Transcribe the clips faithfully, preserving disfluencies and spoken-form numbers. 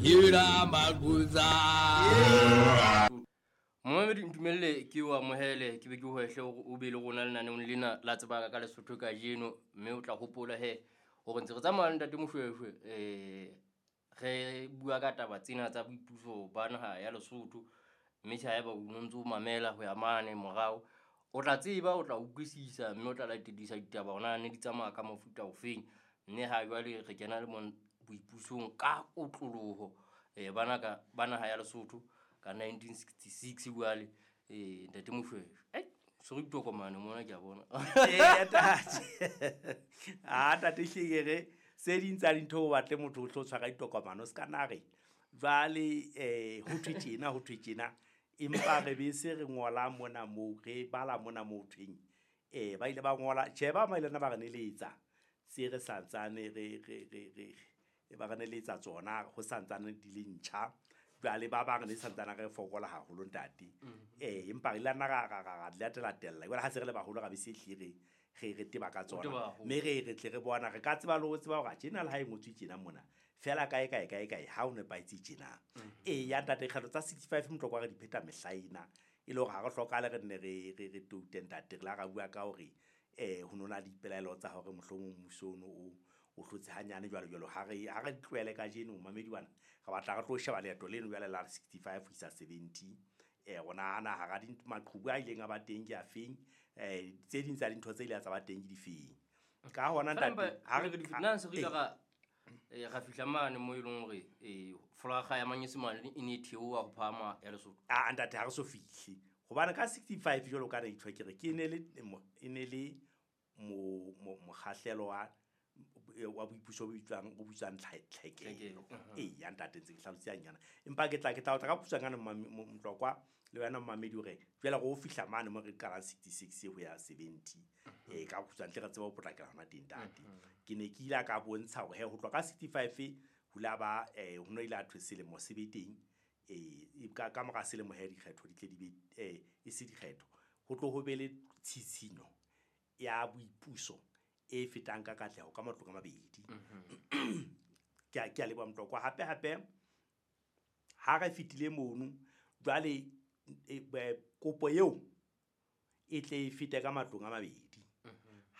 Hira maguza. Momamedi ntumelle ke o amohele ke be ke hwehle hore o be le rona lenaneong lena la tsebaka ka Lesotho kajeno, mme o tla hopola he hore ntse re tsamaya le ntate Moshweshwe eh re bua ka taba tsena tsa boipuso ba naha ya Lesotho. Mme tjhe haeba o no ntso mamela ho ya mane morao, o tla tseba, o tla utlwisisa, mme o tla latedisa ditaba hore na ne di tsamaya ka mofuta ofeng. Mme ha jwale re kena le mon boipusong ka kotloloho eh bana ka ba naha ya Lesotho ka nineteen sixty-six jwale eh ntate Moshweshwe. Ai so re ditokomane mona ke a bona. Ee, ntate. Ah, ntate hlile re se ding tsa dintho o batle motho o tlo tshwara ditokomane o ska na re jwale eh ho thwe tjena ho thwe tjena, empa re be se re ngola mona moo re bala mona moo thweng eh ba ile ba ngola tjhe ba ba ile ba re neletsa se re santsane re re re re ba re neletsa tsona ho santsane di le ntjha. Jwale ba bang ne santsane re fokola haholo ntate. Eh empa re ile nna ra ra ra latela tella jwale ha se re le baholo ra be se hlile re re teba ka tsona. Mme re re tle re bona re ka tseba le ho tseba hore tjena le ha e ngotswe tjena mona fela kae kae kae kae ha o nepahetse tjena. Eh ya ntate kgetho tsa sixty-five motlokwa re di pheta mehla ena e le hore ha re hlokahale re nne re re re toute ntate. Re la ra bua ka hore eh ho nona dipelaelo tsa hore mohlomong mmuso ono o o hlotse hanyane jwalo jwalo. Ha re ha re tlohele kajeno mamedi bana re batla re tlo sheba leeto leno jwale la sixty-five ho isa seventy. Eh rona ana hara dintho maqhubu a ileng a ba teng ke a feng, eh tse ding tsa dintho tse ile tsa ba teng ke difeng. Ka hona ntate ha re nna se re ile ra eh ra fihla mane mo e leng hore eh folaga ya Manyesemane e ne e theoha ho phahama ya Lesotho. Ah ntate ha re so fihle hobane ka sixty-five jwalo ka re ithwa ke re ke ne le e ne le mo mokgahlelo wa wa boipuso bo bitswang o bitswang tlhekelo. Ee ya ntate ntse ke hlalosa nyana empa ke tla ke tla o tla ka khutshwanyane Motlokwa le wena mamedi hore jwale go fihla mane mo re qalang sixty-six ho ya seventy eh ka khutshwanyane tle re tsebe ho potlakela hona teng ntate. Ke ne ke ile ka bontsha hore he ho tloha ka sixty-five ho la ba eh ho no ile a thwe selemo se be teng eh ka ka mora selemo he dikgetho di tle di be eh e se dikgetho ho tlo ho be le tshitshinyo ya boipuso e fetang ka katleho ka matlong a mabedi. Ke a ke a leboha Motlokwa. Hape hape ha re fetile mono jwale kopo eo e tle e fete ka matlong a mabedi.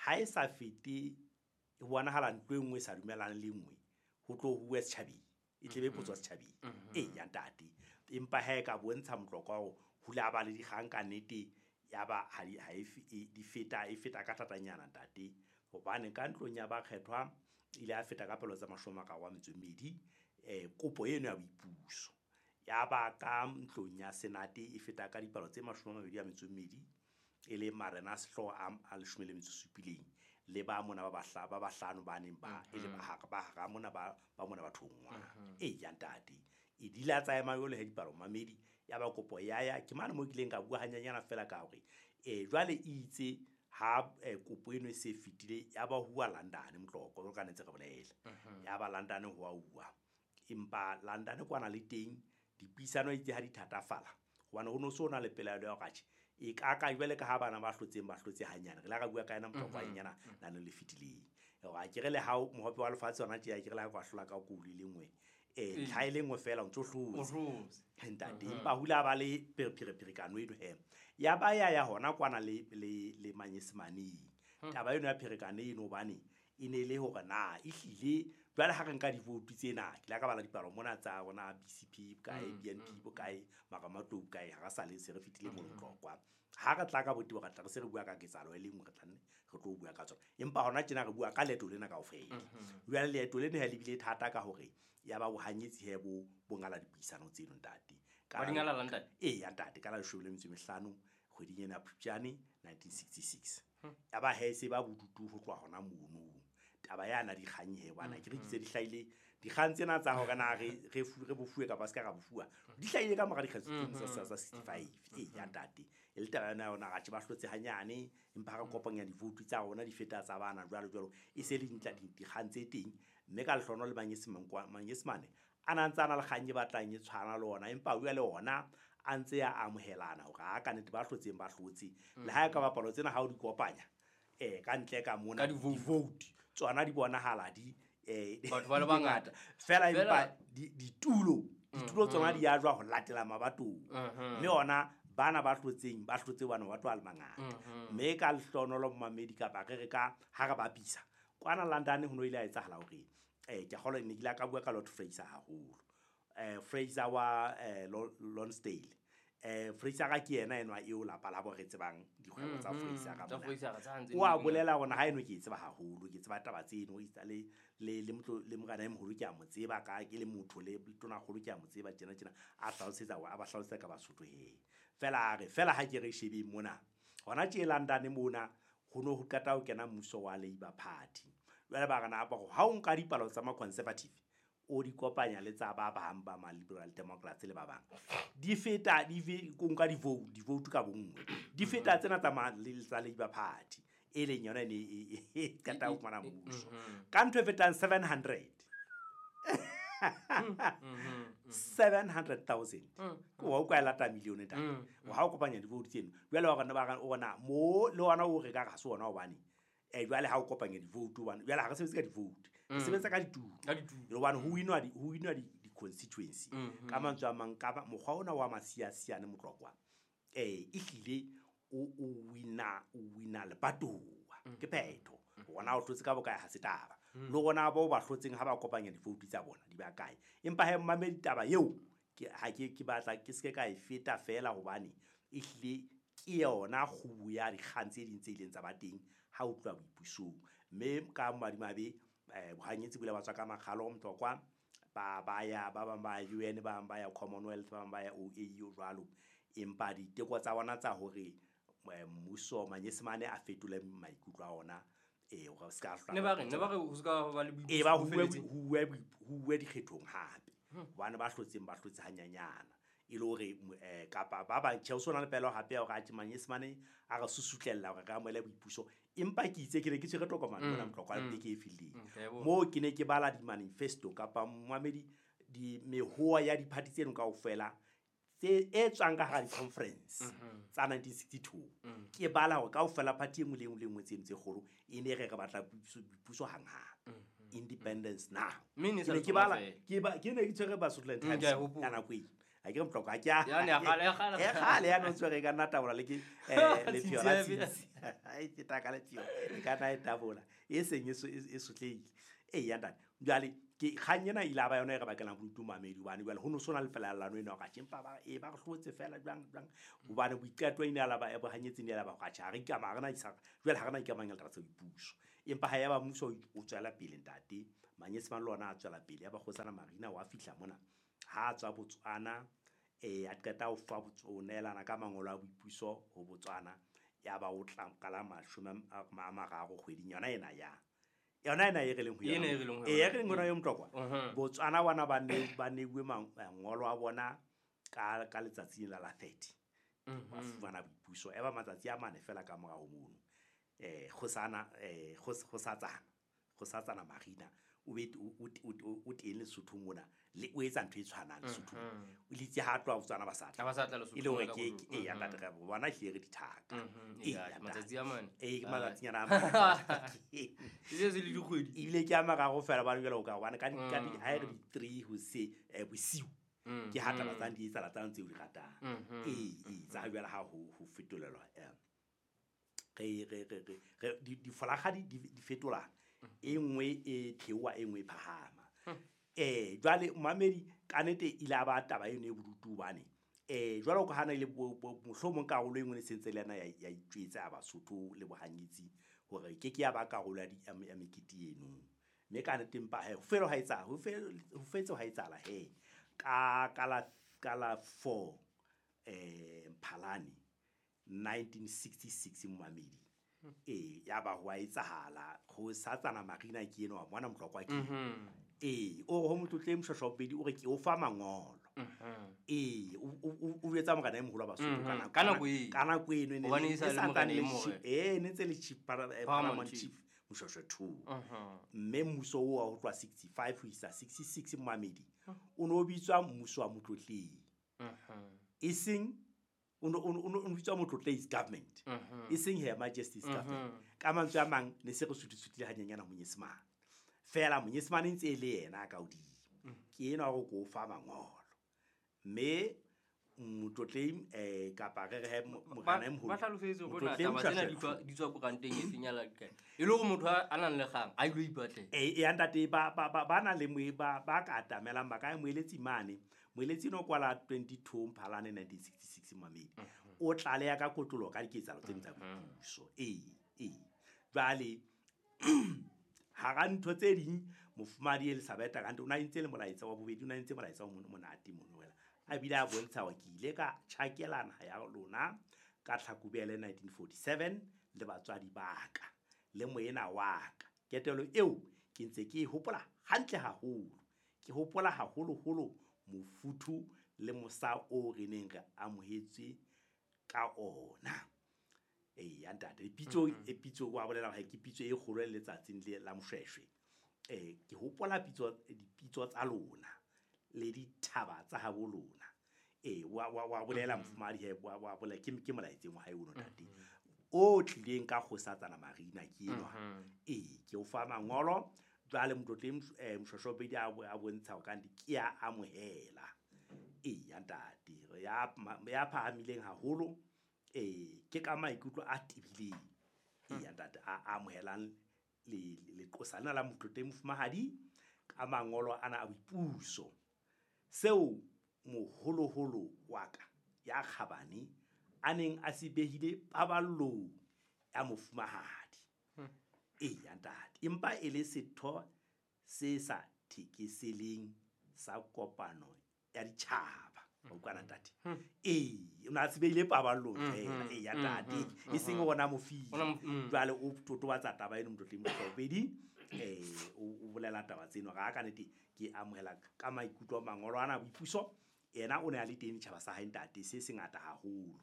Ha e sa fete e bonahala ntlo e nngwe e sa dumelane le nngwe ho tlo huwe setjhabeng e tle be potso setjhabeng. Ee ya ntate empa ha e ka bontsha Motlokwa hore ho la ba le dikgang ka nnete ya ba ha di ha e di feta e feta ka thatanyana ntate. Hobane ka ntlong ya bakgethwa ile a feta ka pelo tsa mashome a mararo a metso e mmedi eh kopo eno ya boipuso. Ya ba ka ntlong ya senate e feta ka dipalo tse mashome a mabedi a metso e mmedi e le marena a sehlooho a leshome le metso e supileng le ba mona ba bahla ba bahlano ba neng ba e le ba hara ba hara mona ba ba mona ba thongwa. Ee ya ntate e dila tsa ema yole he dipalo mamedi ya ba kopo ya ya ke mane mo kileng ka bua hanyanyana fela ka hore eh jwale itse ha kopo eno e se fetile ya ba huwa London Motlokwa jwalo ka ne ntse re bolela ya ba London ho a uwa empa London kwana le teng dipuisano itse ha di thatafala hobane ho no so na le pelaelo ya hore atjhe e ka ka jwale ka ha bana ba hlotseng ba hlotse hanyane re la ra bua ka yena Motlokwa nyana nano le fetileng hore a ke re le ha mohope wa lefatshe hona tje a ke re le ha kwa hlola ka kulu le nngwe eh ntlha e le nngwe fela o ntso hlotse ntate. Empa hula ba le pherepherekano eno he ya ba ya ya hona kwana le le le Manyesemaneng taba eno ya pherekano eno hobane e ne le hore na e hlile jwale ha re nka divote tsena ke la ka bala dipalo mona tsa rona B C P bokae B N P bokae Maramatlou bokae ha re sa le se re fetile mo Motlokwa ha re tla ka botebo re tla re se re bua ka ketsahalo e le nngwe re tla nne re tlo bua ka tsona empa hona tjena re bua ka leeto lena kaofela. Jwale leeto lena ha le bile thata ka hore ya ba bohanyetsi he bo bo ngala dipuisano tseno ntate. Ba di ngala ntate? Ee ya ntate ka la leshome le metso e mehlano kgweding ena ya Phupjane nineteen sixty-six ya ba he se ba bodutu ho tloha hona mono taba yana dikgang he bana ke re kitse di hlahile dikgang tsena tsa hore na re re re bofuwe kapa se ka ra bofuwa di hlahile ka mora dikgetho tsa tsa sixty-five. Ee ya ntate e le taba yona yona ra tje ba hlotse hanyane empa ha re kopanya divoutu tsa rona di feta tsa bana jwalo jwalo e se le dintla dikgang tse teng mme ka lehlono le Manyesemane a na ntse a na le kgang e batlang e tshwana le ona empa bua le ona a ntse a amohelana hore ha ka nnete ba hlotseng ba hlotse le ha e ka bapalo tsena ha o di kopanya eh ka ntle ka mona divote tsona di bonahala di eh Batho ba le bangata. Fela Fela- empa di- ditulo ditulo tsona di a jwa ho latela mabatong. Mhm. Mme ona bana ba hlotseng ba hlotse bana ba tlo a le mangata. Mhm. Mme ka lehlohonolo momamedi kapa re re ka ha re bapisa kwana London ho no ile ha etsahala hore eh ke a kgolwa ne ke ile ka bua ka Lord Fraser haholo. Eh Fraser wa eh Lo- Lonsdale. Eh Fraser ka ke yena enwa eo lapa la bo re tsebang dikgwebo tsa Mhm. Fraser ka Tsa mona. Fraser tsa ntse O a di le bolela hore ha eno ke e tseba haholo, ke tseba taba tseno e le le le motlo le morena e moholo ke a mo tseba ka ke le motho le tonakgolo ke a mo tseba tjena tjena a hlalosetsa a ba hlalosetsa ka Basotho he. Fela a re fela ha ke re shebeng mona hona tje London mona ho no ho qeta ho kena mmuso wa Labour Party. Jwale ba re na ba ha o nka dipalo tsa ma Conservative o di kopanya le tsa ba bang ba ma Liberal Democrats le ba bang di feta di fe ko nka di vote di vote ka bonngwe di feta tsena tsa ma le tsa Labour Party e leng yona e ne e e e qeta ho fumana mmuso ka ntho e fetang seven hundred seven hundred thousand ke wa utlwa e lata million ntate ha o kopanya di-vote tseno jwale wa rona ba re ona mo le ona o re ka re ha se ona hobane eh jwale ha o kopanya di-vote hobane jwale ha re sebetse ka di-vote re sebetsa ka ditulo Ka ditulo. hobane ho winwa di ho winwa di di-constituency ka mantswe a mang ka ba mokgwa ona wa masiasiane motlokwa eh ehlile o o wina o wina lebatowa ke phetho ona o hlotse ka bokae ha se taba le rona bao ba hlotseng ha ba kopanya di-vote tsa bona di ba kae empa he mmamedi taba eo ke ha ke ke batla ke seke ka e feta fela hobane ehlile ke yona kgubu ya dikgang tse ding tse ileng tsa ba teng ha o tloha boipusong mme ka madimabe eh bohanyetsi bo ile ba tswa ka makgalo Motlokwa ba ba ya ba bang ba ya U N ba bang ba ya Commonwealth ba bang ba ya O A U jwalo empa diteko tsa bona tsa hore eh, mmuso manyesemane a fetole maikutlo a ona eh hore se ka hlola Ne ba re ne ba re ho ska ba le e ba boipuso bo huwe felletseng. huwe huwe dikgethong hape hobane ba hlotseng ba hlotse hanyanyana e le hore eh kapa ba bang tjhe o sona le pelo hape ya hore atjhe manyesemane a re susutlella hore re amohele boipuso empa ke itse ke ne ke tshwere tokomane mona Motlokwa beke e fetileng Mm, ke a e bona. moo ke ne ke bala di-manifesto kapa momamedi di mehoa ya di-party tseno kaofela tse e tswang ka hara di-conference tsa nineteen sixty-two ke bala hore kaofela party e nngwe le e nngwe le e nngwe tseno tse kgolo e ne re re batla boipuso boipuso hanghang independence now Mme e ne e sa Ke ne le ke tsona bala feela. ke ba ke ne ke tshwere Basotho Mm, ke a e Times hopola. ka nako eo ha ke re Motlokwa ha ke a Yane ya kgale, ya kgale. e kgale ya no tshwere ka nna tabola le ke eh lepheo la Tshintshi ya tshintshi ha e feta ka lepheo e ka nna e tabola e seng e so- e e sotlehile ee ya ntate jwale ke kgang ena e ile ya ba yona e re bakelang bodutu mamedi hobane jwale ho no sona le fela lano ena hore atjhe empa ba e ba re hlotse fela jwang jwang hobane boiqeto e ne ya la ba bohanyetsi e ne ya la ba hore atjhe ha re ikama ha re na isa jwale ha re na ikamanya le taba tsa boipuso empa ha ya ba mmuso o o tswela pele ntate manyesemane le ona a tswela pele ya ba kgosana Marina wa fihla mona ha a tswa Botswana eh a qeta ho fa Bots- ho neelana ka mangolo a boipuso ho Botswana ya ba o tla ka la mashome a a mararo kgweding yona ena ya yona ena e re leng ho Ena yona e re leng ho ee yona. e re leng ho yona eo Motlokwa Mhm. Botswana bona ba ne ba neuwe mang- mangolo a bona ka ka letsatsi la la thirty ba fumana boipuso e ba matsatsi a mane fela ka morao mono eh kgosana eh kgos- kgosatsana kgosatsana Marina o be o o o o teng Lesotho mona le o etsa ntho e tshwanang Lesothong o litse ha tloha Botswana ba sa tla Ha ba sa tla Lesotho e le hore mona ka ke kotlo. ke- ee ya ntate re bona ehlile re dithaka Mhm, Ee, ee, ya ntate. matsatsi a mane. Ee, ke Ah. matsatsinyana a mane. E se se le dikgwedi. Ebile ke a mararo fela hobane jwale o ka hobane ka di ka di ha e re di three hoseng eh bosiu ke ha taba tsane di etsahala tsane tseo di ratang ee ee tsa jwale ha ho ho fetolelwa eh re re re re re di difolakga di di di fetolana e nngwe e theoha e nngwe e phahama eh jwale momamedi ka nnete e ile ya ba taba eno e bodutu hobane eh jwalo ka ha na ile mohlomong karolo e nngwe ne sentse le yena ya ya itjwetsa ya Basotho le bohanyetsi hore ke ke ya ba karolo ya di ya ya mekete eno mme ka nnete empa he ho fele ha etsahala ho fele ho fetse ha etsahala he ka ka la ka la four eh Mphalane nineteen sixty-six momamedi ee ya ba ho a etsahala kgosatsana Marina ke enwa wa mona Motlokwa ke ee o re ho motlotle Moshweshwe wa bobedi o re ke o fa mangolo ee o o o jwetsa morena e moholo wa Basotho ka nako Ka nako eo. ka nako eno e ne Hobane le- e sa e le santsane morena e le morena. chief- ee, ne ntse le chief para- eh, Paramount Paramount Chief. Chief Moshweshwe two mme mmuso oo wa ho tloha sixty-five ho isa sixty-six momamedi o no bitswa mmuso wa Motlotleng e seng o no o no o no bitswa Motlotleng's government e seng Her Majesty's government ka mantswe a mang ne se re sutisutile hanyenyana monyesemane Fela monyesemane ntse e le yena ka hodimo. Ke enwa hore ko fa mangolo. Mme motlotleng eh kapa re re morena e moholo. Ba hlalosetse hore na taba tsena di tswa di tswa koranteng e feng ya la kae. E le hore motho a nang le kgang a ilo ipatlela. Eh ya ntate ba ba ba na le moe ba ba ka atamelang ba ka moeletsi mane. Moeletsi no kwala twenty-two Mphalane nineteen sixty-six mamedi. O tlaleha ka kotlolo ka diketsahalo tse tsa boipuso. Eh eh. Jwale hara ntho tse ding mofumahadi Elizabeth Kante o na entse le molaetsa wa bobedi, o na entse molaetsa o monate mono wela. A bile a bontsha hore ke ile ka tjhakela naha ya lona ka Tlhakubele nineteen forty-seven le batswadi ba ka le moena wa ka. Ketelo eo ke ntse ke e hopola hantle haholo. Ke hopola haholoholo mofuthu le mosa o re neng re amohetswe ka ona. Eh ya ntate, pitso e pitso wa bolela hore ke pitso e kgolo le letsatsing le la Moshweshwe. Eh ke hopola pitso dipitso tsa lona le dithaba tsa habo lona. Eh wa wa wa bolela mofumahadi he wa wa bolela ke ke molaetseng wa hae ono ntate. O tlileng ka kgosatsana Marina ke enwa. Eh ke o fa mangolo jwale motlotleng Moshweshwe a a bontsha hore kante ke ya amohela. Eh ya ntate ya ya phahamileng haholo. Eh ke ka maikutlo a tebileng. Eh ya ntate a amohelang le leqosa lena la motlotleng mofumahadi ka mangolo ana a boipuso. Seo moholoholo wa ka ya kgabane a neng a se behile paballong ya mofumahadi. Eh ya ntate, empa e le setho se sa thekeseleng sa kopano ya ditjhaba. O utlwana ntate? Eh o na se behile paballong fela. Eh ya ntate, e seng ona mofile. Jwale o totobatsa taba eno motlotleng Moshweshwe eh o bolela taba tseno ga ka nnete ke amohela ka maikutlo mangolo ana boipuso. Yena o ne a le teng ditjhaba sa hae ntate se sengata haholo.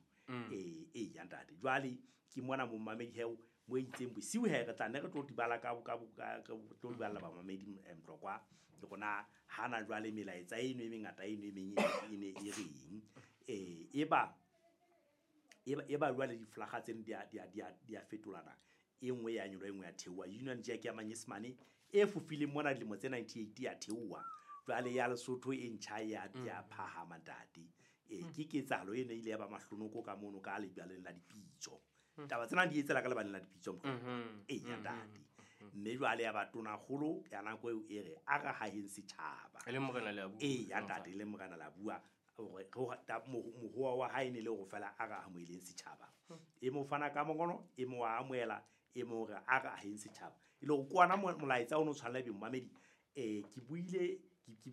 Eh eh ya ntate, jwale ke mona momamedi heo mo itseng bosiu he re tla ne re tlo dibala ka ka ka tlo diballa ba mamedi Mtlokwa ke rona hana jwale melaetsa eno e mengata eno e meng e ne e reng eh eba eba eba jwale diflaga tseno di a di a di a fetolana. E nngwe ya nyolo e nngwe ya theoha. Union Jack ya Manyesemane e fofileng mona dilemo tse ninety-eight ya theoha. Jwale ya Lesotho e ntjha ya ya phahama ntate. Eh ke ketsahalo eno e ile ya ba mahlonoko ka mono ka lebaleng la dipitso. Taba tsena di etsela ka lebaleng la dipitso mokgwa. Eh ya ntate. Mme jwale ya ba tonakgolo ya nako eo e re a re haheng setjhaba. E le morena le a bua. Eh ya ntate le morena la bua hore mohoa wa hae ne le hore fela a re amoheleng setjhaba. E mo fana ka mongolo, e mo amohela, e mo re a re aheng setjhaba. E le hore kwana molaetsa ono tshwanela be momamedi. Eh ke buile ke